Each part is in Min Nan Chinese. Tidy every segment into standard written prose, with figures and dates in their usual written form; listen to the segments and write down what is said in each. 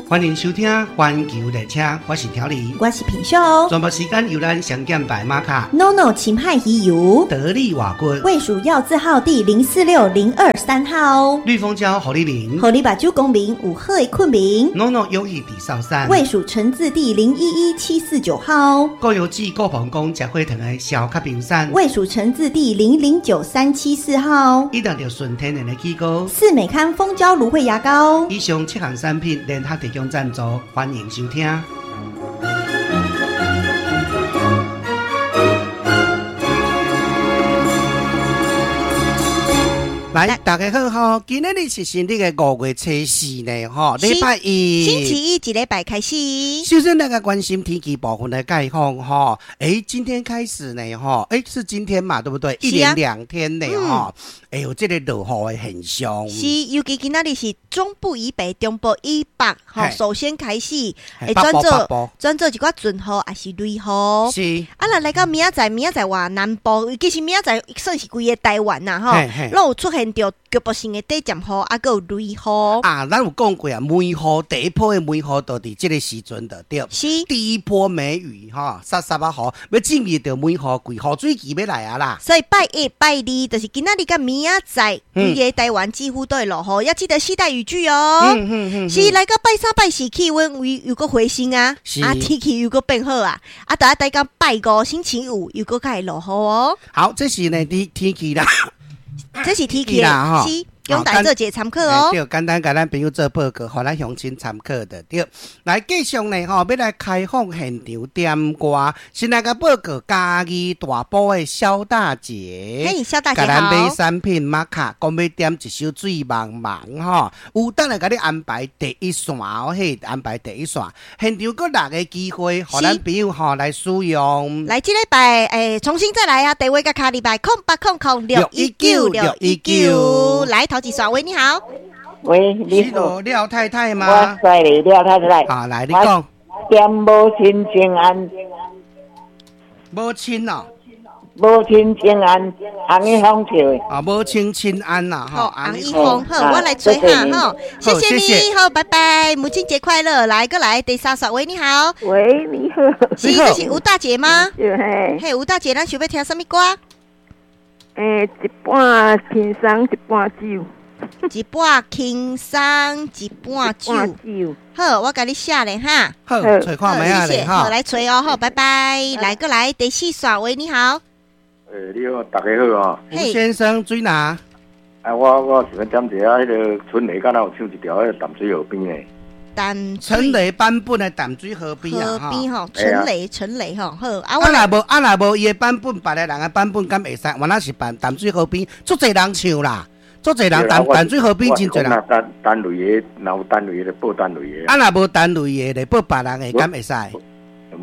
歡迎收聽《環球列車》，我是調理，我是品秀。全部時間由咱上減白馬卡，NONO 秦漢魚油，得力瓦棍，衛署藥字號第046023號，綠蜂膠予你眠，予你目睭光明有好的睏眠，NONO 勇氣地少山，衛署成字第011749號，高油脂高膀胱食火糖的消卡冰山，衛署成字第009374號，以上就純天然的起膏，四美康蜂膠蘆薈牙膏，以上七項產品聯合提供贊助，歡迎收聽。來，大家好吼！今仔日是新曆的5月24呢，吼，禮拜一，星期一，一禮拜開始。首先，咱來關心天氣部分的概況，吼。欸，今天開始呢，吼，欸，是今天嘛，對不對？一連兩天呢，吼，欸，有這個落雨的現象。是，尤其今仔日是中部以北、中部以北，吼，首先開始會轉做轉做一寡陣雨，抑是雷雨。是。啊，若來到明仔載，明仔載話南部，其實明仔載算是規個台灣啦，吼，攏有出現著局部性的短暫雨，啊，閣有雷雨。啊，咱有講過啊，梅雨第一波的梅雨就佇這個時陣就對。是。第一波梅雨吼，潲潲仔雨，欲進入著梅雨季，雨水期欲來啊啦。所以拜一、拜二，就是今仔日佮明仔載，規个台灣幾乎都會落雨，要記得攜帶雨具哦。是來到拜三、拜四，氣溫又閣回升啊，啊，天氣又閣變好啊，啊，就愛等到拜五星期五又閣較會落雨哦。好，這是呢啲天氣啦。這是天氣啦，是，供大家做一個參考哦。對，簡單共咱朋友做報告，予咱鄉親參考的對。來，繼續呢，吼，欲來開放現場點歌。先來共報告嘉義大埔的蕭大姐，嘿，蕭大姐好。共咱買產品瑪卡，講欲點一首《水茫茫》吼，有等來共你安排第一線哦，嘿，安排第一線。現場閣六個機會，予咱朋友吼來使用。來，這禮拜重新再來啊！電話佮敲入來，0800619619，來頭一線，喂，你好。喂，你好，廖太太嗎？我是廖太太。好，來，你講。點母親請安。母親哦。母親請安，洪一峰唱的。啊，母親請安啦，吼，洪一峰，好，我來吹下，吼，謝謝你，好，拜拜，母親節快樂，來，過來，第三線，喂，你好。喂，你好。是，這是吳大姐嗎？是。嘿，吳大姐，咱想欲聽啥物歌？欸，一半輕鬆，一半酒。一半輕鬆，一半酒。好，我共你寫咧哈。好，揣看覓仔咧哈。好，來揣哦，好，拜拜。來過來，第四線，喂，你好。欸，你好，大家好啊。吳先生，水哪？啊，我想欲點一下，彼个春雷敢若有唱一條，彼个淡水河邊的。陳雷版本的淡水河邊啊，河邊吼，陳雷陳雷吼，好啊。啊，若無伊的版本，別个人的版本敢會使？原來是版淡水河邊，足濟人唱啦，足濟人淡淡水河邊真濟人。單類的，若有單類的，報單類的。啊，若無單類的，就報別人的，敢會使？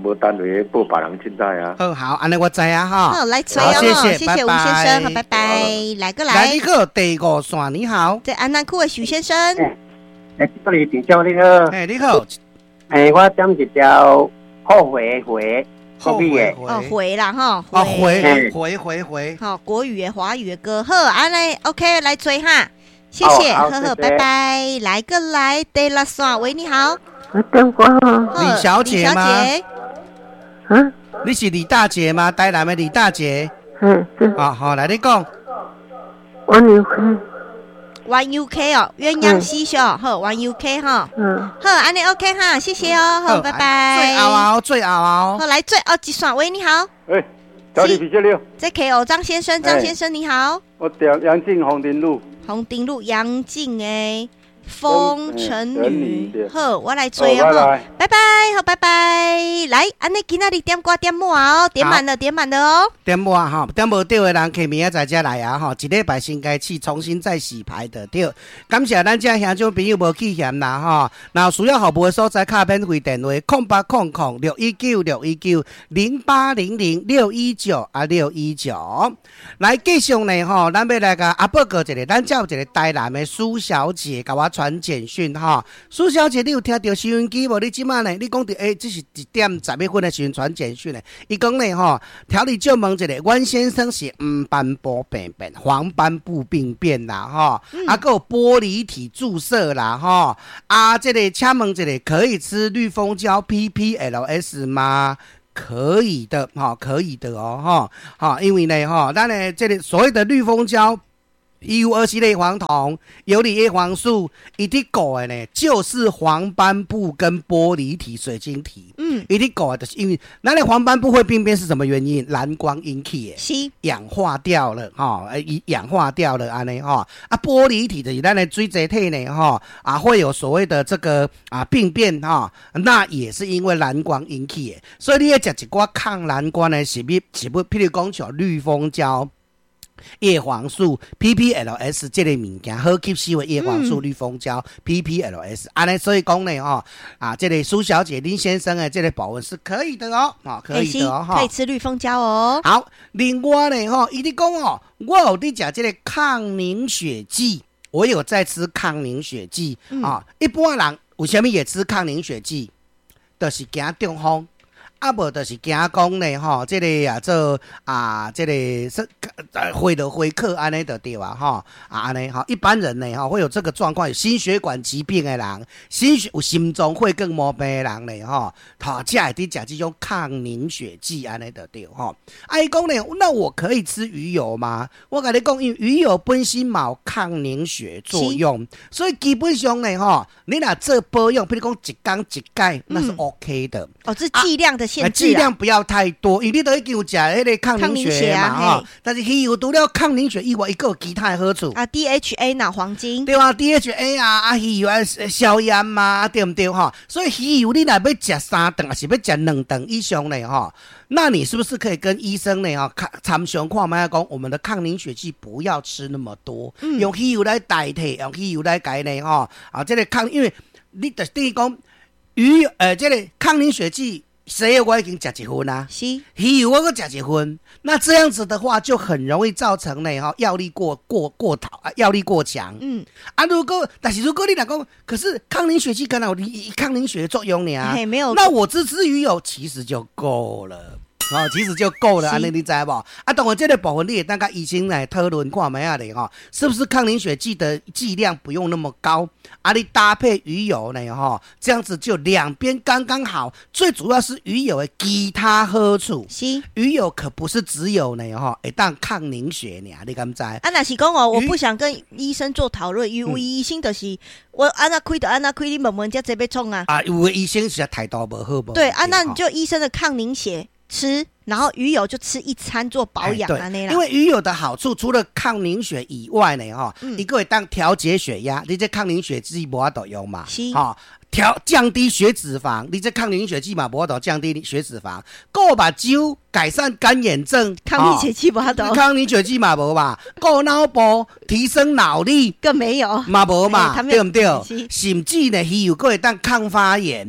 無單類的，報別人凊彩啊。好，好，按呢我知影哈。好，來揣哦，謝謝吳先生，好，拜拜。來過來。來，你好，第五線，你好。在安南區的許先生。欸，這裡店長你好。欸，你好。欸，我點一條後悔的回，國語的。哦，回啦吼。哦，回回回回。好，國語的、華語的歌，好，按呢 OK，來吹哈，謝謝，好好，拜拜。來個來，第六線，喂，你好。李小姐嗎？嗯。你是李大姐嗎？台南的李大姐。嗯。啊，好，來你講。我有去。 One UK 哦，鴛鴦嬉笑，好，One UK 哈，好，按呢 OK 哈，謝謝哦，好，拜拜。最後啊，最後啊，好，來最後一線，喂，你好。喂，小李皮小六。這 K O 張先生，張先生你好。我點楊靜紅燈路。紅燈路楊靜的風塵女，好，我來追哦，拜拜，好，拜拜。來，按呢今仔日點歌點滿哦，點滿了，點滿了哦。點滿吼，點無著的人，客明仔載才來啊吼。一禮拜先開始重新再洗牌的對。感謝咱遮兄長朋友無棄嫌啦吼。若有需要服務的所在，敲免費電話：080061961908006196 619。來繼續呢吼，咱欲來共啊報告一下，咱遮有一个台南的蘇小姐，共我。傳簡訊哈。蘇小姐，你有聽著收音機無？你這馬呢？你講著這是1點10分的時陣傳簡訊的。伊講呢吼，調理就問一下，阮先生是黃斑部病變，黃斑部病變啦吼，啊，閣有玻璃體注射啦吼，啊，這個請問一下，可以吃綠蜂膠 PPLS 嗎？可以的，哈，可以的哦，哈，好，因為呢，哈，咱的這個所謂的綠蜂膠。EU 27類黃酮、游離葉黃素，伊佇顧的呢，就是黃斑部跟玻璃體、水晶體。伊佇顧的，就是因為咱的黃斑部會病變是什麼原因？藍光引起的，氧化掉了，吼，氧化掉了，按呢，吼，啊，玻璃體的咱的水晶體呢，吼，啊，會有所謂的這個啊病變，哈，那也是因為藍光引起的。所以你欲食一寡抗藍光的食物，譬如講像綠蜂膠。葉黃素 PPLS 這個物件好吸收的葉黃素綠蜂膠 PPLS，按呢，所以講呢，吼啊，這個蘇小姐林先生的這個保溫是可以的哦，啊，可以的哦，可以吃綠蜂膠哦。好，另外呢，吼，伊佇講哦，我有佇食這個抗凝血劑，我有在吃抗凝血劑啊。一般人為啥物會吃抗凝血劑？就是驚中風。啊，無就是驚講呢，吼，這個啊做啊，這個是血落血靠按呢就對啊，吼啊按呢吼，一般人呢，吼會有這個狀況，有心血管疾病的人，有心臟血管毛病的人呢，吼，他才會佇食這種抗凝血劑按呢就對吼。啊，伊講呢，那我可以吃魚油嗎？我共你講，因為魚油本身嘛有抗凝血作用，所以基本上呢，吼，你若做保養，譬如講一工一擺，那是 OK 的。哦，這劑量的限制，劑量不要太多，因為你都已經有食彼個抗凝血嘛，吼。但是魚油除了抗凝血以外，伊閣有其他的好處。啊，DHA 腦黃金。對啊，DHA 啊，啊魚油啊消炎嘛，對毋對吼？所以魚油你若欲食三頓，抑是欲食兩頓以上呢，吼？那你是不是可以跟醫生呢？吼，參詳看覓講，我們的抗凝血劑不要吃那麼多，用魚油來代替，用魚油來改呢，吼。啊，這個抗，因為你就等於講魚，這個抗凝血劑。西藥我已經食一份啦，魚油我閣食一份，那這樣子的話就很容易造成呢，吼藥力過頭啊，藥力過強。啊，但是如果你若講，可是抗凝血劑敢若有抗凝血的作用呢？沒有，那我只吃魚油其實就夠了。哦，其實就夠了，按呢你知無？啊，當然這個部分你會當佮醫生來討論看覓仔咧吼，是不是抗凝血劑的劑量不用那麼高？啊，你搭配魚油呢，吼，這樣子就兩邊剛剛好。最主要是魚油的其他好處。魚油可不是只有呢，吼，會當抗凝血呢，你敢知？啊，若是講哦，我不想跟醫生做討論，因為醫生就是我按怎開就按怎開，你問問這這欲創啊？啊，有的醫生實在態度無好無。對啊，那你就醫生的抗凝血吃，然後魚油就吃一餐做保養啊，那因為魚油的好處，除了抗凝血以外呢，吼，伊閣會當調節血壓，你這抗凝血劑無法度用嘛，吼，降低血脂肪，你這抗凝血劑嘛無法度降低血脂肪，顧目睭改善乾眼症，抗凝血劑無法度，抗凝血劑嘛無嘛，顧腦部提升腦力更沒有，嘛無嘛，對毋對？甚至呢，魚油閣會當抗發炎，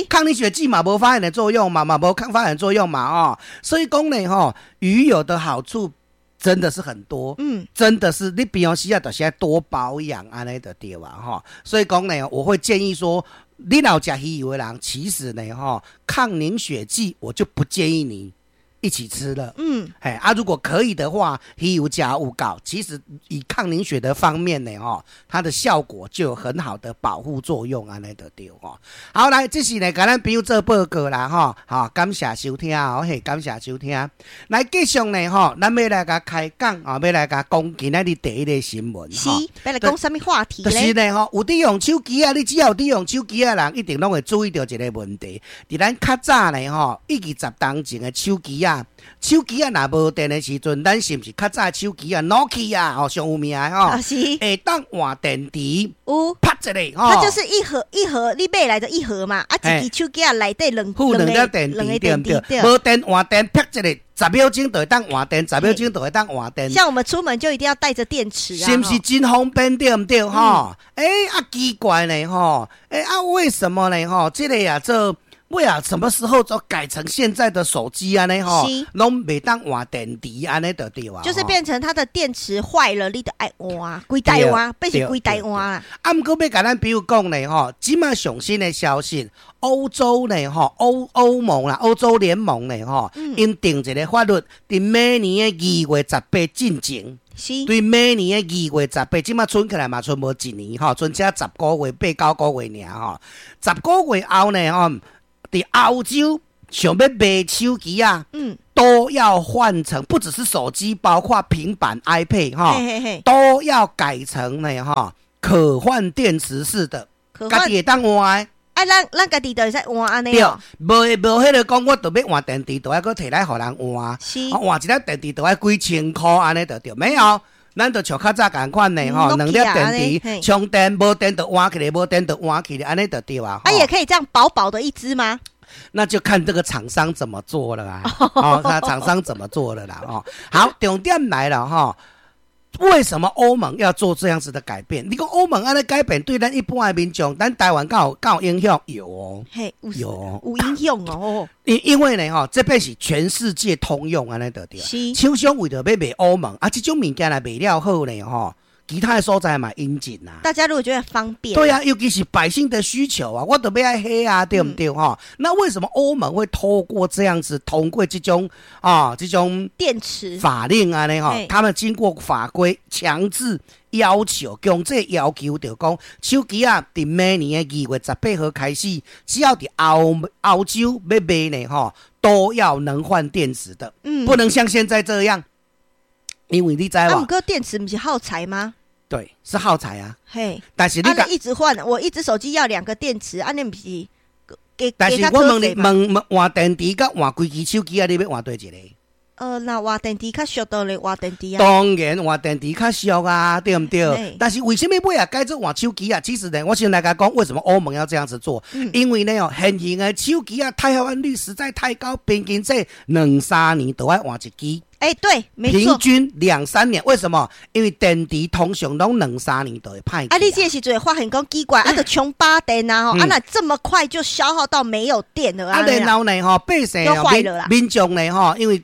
抗凝血劑嘛無發炎的作用嘛，嘛無抗發炎作用嘛，哦，所以講呢，吼，魚油的好處真的是很多，真的是你平常時啊，就是愛多保養按呢就對啊，吼，所以講呢，我會建議說，你若有食魚油的人，其實呢，吼，抗凝血劑我就不建議你一起吃了。嘿啊，如果可以的話，魚油食有夠，其實以抗凝血的方面呢，吼，它的效果就有很好的保護作用，按呢就對吼。好，來，這是呢，共咱朋友做報告啦，吼，好，感謝收聽哦，嘿，感謝收聽。來，繼續呢，吼，咱欲來共開講啊，欲來共講今仔日第一個新聞，是，欲來講啥物話題咧？就是呢，吼，有佇用手機啊，你只要有佇用手機的人，一定攏會注意著一個問題。佇咱較早呢，吼，20十冬前的手機啊，手機啊，若無電的時陣，咱是毋是較早的手機啊，Nokia 吼，上有名的吼，會當換電池，有，拍一下，吼，它就是一盒一盒，你買來的一盒嘛，啊，一支手機啊內底兩附兩粒電池，對毋對？無電換電，拍一下，10秒鐘就會當換電，十秒鐘就會當換電。像我們出門就一定要帶着電池啊，是毋是真方便對毋對？吼，欸，啊奇怪呢，吼，欸啊為什麼呢？吼，這個啊做。尾仔什麼時候就改成現在的手機按呢吼，攏袂當換電池按呢就對啊。就是變成它的電池壞了，你就愛換，規台換，變成規台換啦。啊，毋過欲共咱朋友講呢吼，這馬上新的消息，歐洲呢吼，歐盟啦，歐洲聯盟呢吼，𪜶定一個法律，佇明年的2月18進前。對明年的二月十八，這馬賰起來嘛，賰無一年吼，賰才10個月，八九個月爾吼。十個月後呢吼，佇歐洲想欲賣手機啊，都要換成，不只是手機，包括平板、iPad 哈，都要改成呢哈可換電池式的，家己會當換。啊，咱家己就會使換按呢。對，無無彼個講，我著欲換電池，著愛閣提來予人換。換一粒電池著愛幾千箍按呢，著對。沒有，咱就像較早仝款的吼，兩粒電池充電，無電就換起來，無電就換起來，按呢就對啊。啊，也可以這樣薄薄的一支嗎？那就看這個廠商怎麼做了啊！哦，那廠商怎麼做的啦？哦，好，重點來了哈。為什麼歐盟要做這樣子的改變？你講歐盟按呢改變對咱一般的民眾，咱台灣敢有敢有影響？有哦，嘿，有哦，有影響哦。因為呢，吼，這邊是全世界通用按呢就對。廠商為著欲賣歐盟啊，這種物件若賣了好呢，吼，其他的所在嘛引進啊。大家如果覺得方便，對啊，尤其是百姓的需求啊，我著欲愛彼啊，對毋對？吼，那為什麼歐盟會透過這樣子通過這種啊這種電池法令啊呢？吼，他們經過法規強制要求，強制要求，就講手機啊，佇明年的2月18號開始，只要佇歐洲欲賣呢，吼，都要能換電池的，不能像現在這樣，因為你知無？啊，毋過電池毋是耗材嗎？對，是耗材啊。嘿，但是你一直換，我一隻手機要兩個電池，按呢毋是給？但是我問你，問問換電池佮換規支手機啊，你欲換佗一個？若換電池較俗，當然換電池啊。當然換電池較俗啊，對毋對？但是為什麼尾仔改做換手機啊？其實呢，我先來共講，為什麼歐盟要這樣子做？因為呢哦，現行的手機啊，汰換率實在太高，平均這兩三年都愛換一支。哎，對，沒錯，平均兩三年，為什麼？因為電池通常攏兩三年就會歹。啊，你這個時陣會發現講奇怪，啊，就充飽電啊，吼，啊，那這麼快就消耗到沒有電了啊？然後呢，吼，百姓民眾呢，吼，因為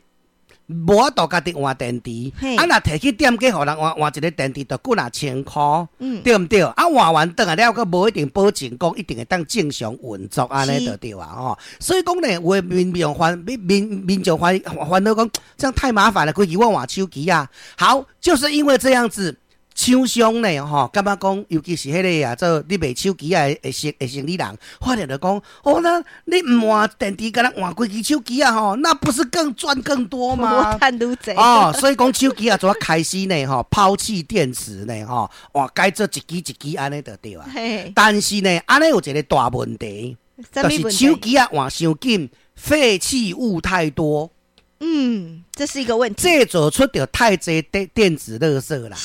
無法度家己換電池，啊，若提去店家予人換換一個電池，就幾若千箍，對毋對？啊，換完轉來了，閣無一定保證講一定會當正常運作按呢就對啊，吼。所以講呢，有的民眾煩惱講，這樣太麻煩了，規矩我換手機啊。好，就是因為這樣子，廠商呢，吼，感覺講，尤其是彼個啊，做咧賣手機仔的生理人，發現就講，哦，那你毋換電池，敢若換規支手機啊，吼，那不是更賺更多嗎？我趁愈濟。哦，所以講手機啊，怎開始呢？吼，拋棄電池呢？吼，哇，改做一支一支按呢就對啊。但是呢，按呢有一個大問題，就是手機啊換傷緊，廢棄物太多。嗯，這是一個問題。製造出著太濟電子垃圾啦。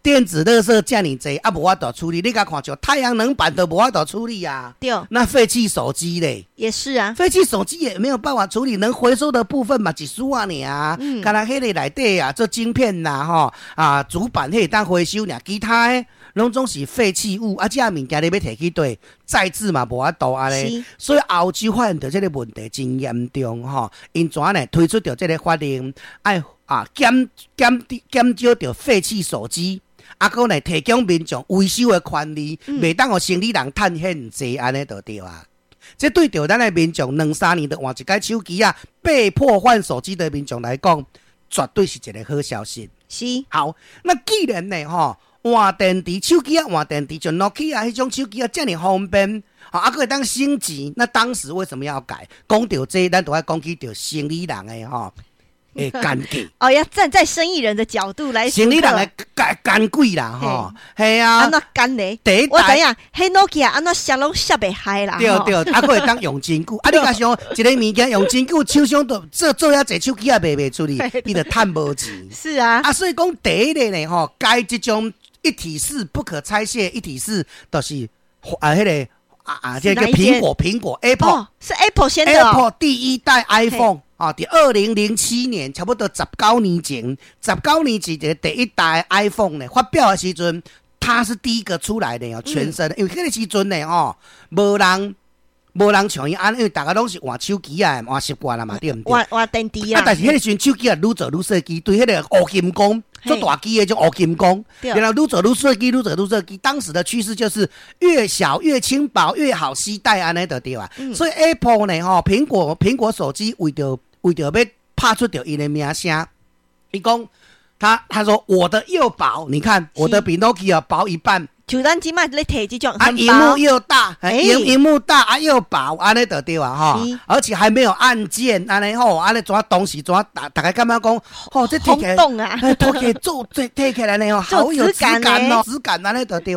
電子垃圾遮爾濟，啊，無法度處理。你共看像太陽能板都無法度處理啊。對。那廢棄手機咧？也是啊。廢棄手機也沒有辦法處理，能回收的部分嘛，一絲仔爾啊。敢若彼個內底啊，做晶片啦，吼啊，主板彼會當回收爾，其他的攏總是廢棄物。啊，這物件你欲提去佗再製嘛，無法度按呢。所以歐洲發現著這個問題真嚴重吼，𪜶怎呢推出著這個法令，愛啊減少著廢棄手機，啊，閣呢提供民眾維修的權利，袂當予生理人趁現濟按呢就對啊。這對著咱的民眾兩三年就換一改手機啊，被迫換手機的民眾來講，絕對是一個好消息。好，那既然呢吼換電池手機啊換電池，像 Nokia 彼種手機啊遮爾方便，啊，閣會當升級，那當時為什麼要改？講著這，咱就愛講起著生理人的吼。會奸計哦，要站在生意人的角度來，生理人的奸計啦，吼，係啊，按怎奸咧？第一我知影，彼 Nokia 按怎摔攏摔袂開啦，對對，啊，閣會當用真久，啊，你若想一個物件用真久，廠商都做做遐濟手機也賣袂出去，伊就趁無錢。是啊，啊，所以講第一个呢，吼，改這種一體式不可拆卸一體式，就是啊，彼个啊，這個蘋果 Apple 是 Apple 先的，Apple 第一代 iPhone。啊，佇2007年，差不多十九年前，十九年前這個第一代 iPhone 呢發表的時陣，它是第一個出來的哦，全新的，因為彼個時陣呢，吼，無人無人像伊按呢，因為逐家攏是換手機啊，換習慣啦嘛，對毋對？換換電池啊，啊。但是彼個時陣手機啊，愈做愈細支，對彼個烏金剛做大支的這種烏金剛，然後愈做愈細支，愈做愈細支。當時的趨勢就是越小越輕薄越好攜帶，按呢就對啊。所以 Apple 呢，吼，蘋果手機為著欲拍出著𪜶的名聲，伊講他說我的又薄，你看我的比 Nokia 薄一半。就咱這擺咧提這種啊，螢幕又大，螢幕大啊又薄，按呢就對啊吼，而且還沒有按鍵，按呢吼，按呢怎當時怎逐家感覺講，吼，這提起來，轟動啊，提起來做這提起來呢吼，好有質感哦，質感按呢就對。